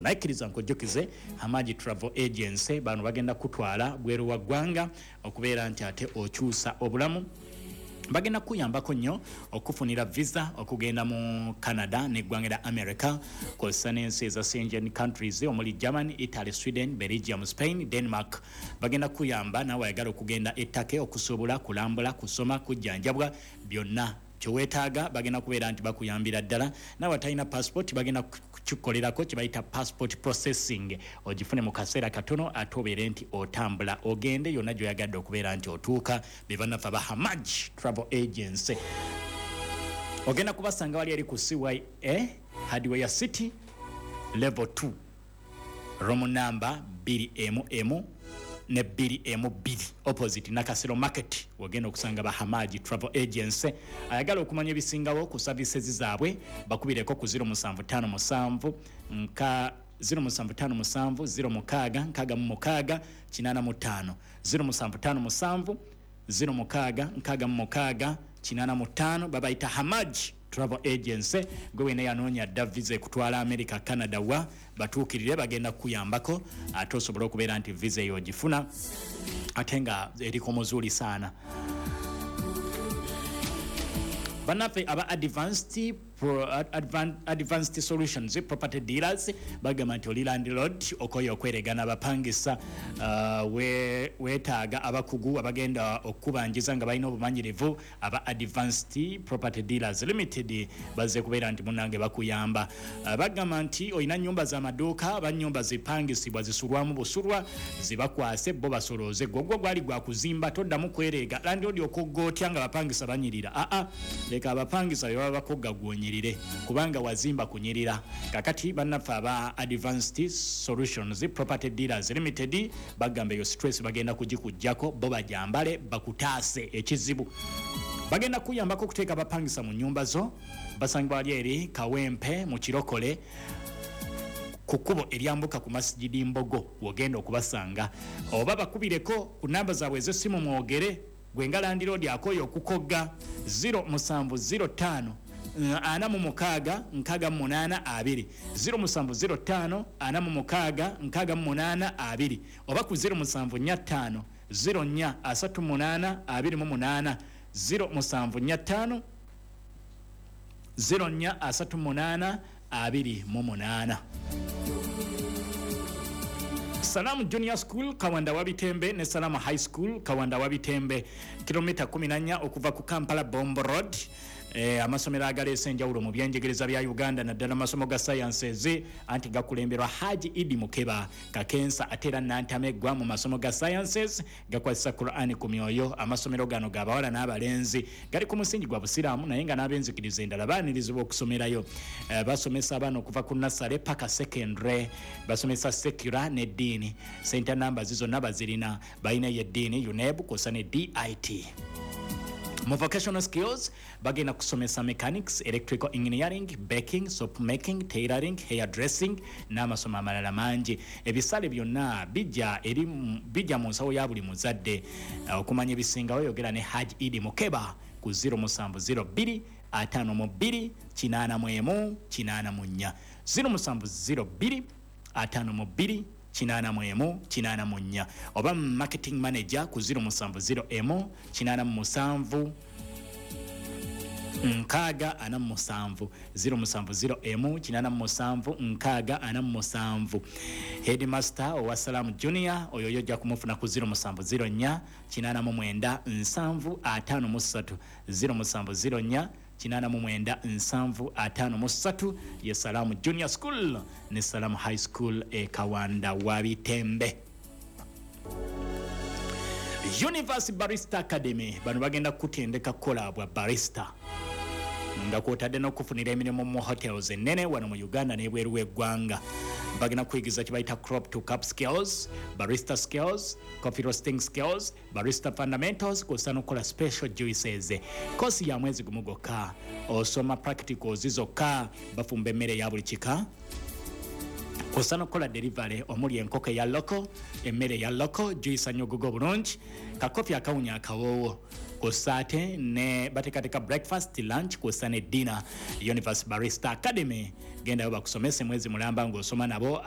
Naye kkiriza nkujjukize Hamaji Travel Agency, bano bagenda kutwala bweru wa ggwanga okubeera nti ate okyusa obulamu. Bagenda kukuyambako nnyo okufunira visa okugenda mu Canada n'eggwanga lya America, kw'ossa n'ensi eza Schengen countries omuli Germany, Italy, Sweden, Belgium, Spain, Denmark. Bagenda kukuyamba naawe ayagala okugenda e Turkey okusuubula, kulambula, kusoma, kujjanjabwa, byonna kyeweetaaga bagenda kubeera nti bakuyambira ddala. Naawe atalina passport bagenda kukikolerako kye bayita passport processing, ogifune mu kaseera katono ate obeere nti otambula ogende yonna gy'oyagadde okubeera nti otuuka. Be bannaffe aba Hamaj Travel Agency. Ogenda kubasanga wali eri ku CYA Hardware City level 2 room number bbiri emu emu ne bbiri emu bbiri opposite Nakasero Market, wogenda okusanga ba Hamaji Travel Agency. Ayagala okumanya ebisingawo ku services zaabwe bakubireko ku 0757 nka 0757 06 66 85, 0757 06 66 85. Babayita Hamaji Travel Agency. Gwe wena yanoonya dda visa ekutwala America, Canada, wa batuukirire, bagenda kukuyambako ate osobole okubeera nti visa eyo ogifuna ate nga eriko muzuuli saana. Bannaffe aba Advanced Solutions Property Dealers bagamba nti oli landlord okoye okweregana abapangisa, weetaaga abakugu abagenda okukubanjiza nga balina obumanyirivu. Aba Advanced Property Dealers Limited bazze kubeera nti munnange bakuyamba. Bagamba nti olina nnyumba z'amaduuka aba nnyumba zipangisibwa zisulwamu busulwa, zibakwase bo basolooze. Gwogwo gwali gwa kuzimba, toddamu kwereega landlord okogga otya nga bapangisa banyirira. Aa, leka abapangisa be baba bakogga, gwonyirire, kubanga wazimba kunyirira. Kakati bannaffe aba Advanced Solutions Property Dealers Limited bagamba eyo stress bagenda kugikugjako, bo bajambale bakutaase ekizibu. Bagenda kuyambako okuteeka abapangisa mu nnyumba zo. Basangibwa wali eri Kawempe mu Kirokole ku kkubo eryambuka ku Masijidi Mbogo wogenda okubasanga, oba bakubireko ku namba zaabwe ez'essimu mwogere. Gwe nga landiroodi akooye okukogga, 0705 46 68 20, 0705 46 68 20, oba ku 0745 04 38 28, 0745 04 38 28. Salamu Junior School Kawanda Wabitembe ne Salamu High School Kawanda Wabitembe, kilomita 14 okuva ku Kampala Bombo Road. Amasomero agaleese enjawulo mu byenjigiriza bya Uganda naddala masomo ga sciences, anti gakulemberwa Haji Idi Mukeba Kakensa ate era Nantameggwa mu masomo ga sciences, gakwasisa Qur'an ku myoyo. Amasomero gano g'abawala n'abalenzi, gali ku musingi gwa Busiraamu naye nga n'ab'enzikiriza endala baanirizibwa okusomerayo. Basomesa abaana okuva ku nursery paka secondary, basomesa secular n'eddiini. Center numbers zonna bazirina, balina ey'eddiini, UNEB kw'ossa ne DIT. Mu vocational skills bagenda kusomesa mechanics, electrical engineering, baking, soap making, tailoring, hair dressing n'amasomo amalala mangi. Ebisale byonna bijja eri bijja mu nsawo ya buli muzadde. Okumanya ebisingawo yogera ne Hajj Idi Mukeba ku 0702 52 81 84, 0702 52 81 84, oba marketing manager ku 0701 87 60 47, 0701 87 60 47. Headmaster owa Salamu Junior oyo yo ojja kumufuna ku 0704 89 70 53, 0704 89 70 53. Ye Salamu Junior School ne Salamu High School e Kawanda Wabitembe. Universe Barista Academy, bano bagenda kukutendeka kukola bwa barista nga kwotadde n'okufunira emirimu mu hotels ennene wano mu Uganda n'ebweru w'eggwanga. Bagenda kukuyigiza kye bayita crop to cup skills, barista skills, coffee roasting skills, barista fundamentals kw'ossa n'okukola special juices. Kosi ya mwezi gumu gwokka, osoma practicals zokka. Bafumba emmere eya buli kika. Kwossa n'okukola delivery omuli enkoko eya loko, emmere eya loko, juice anyogoga obulungi, kakofi akawunya akawoowo, kwossa ate ne bateekateeka breakfast, lunch kwossa ne dinner. Universe Barista Academy, gendayo bakusomese mwezi mulamba ng'osoma nabo.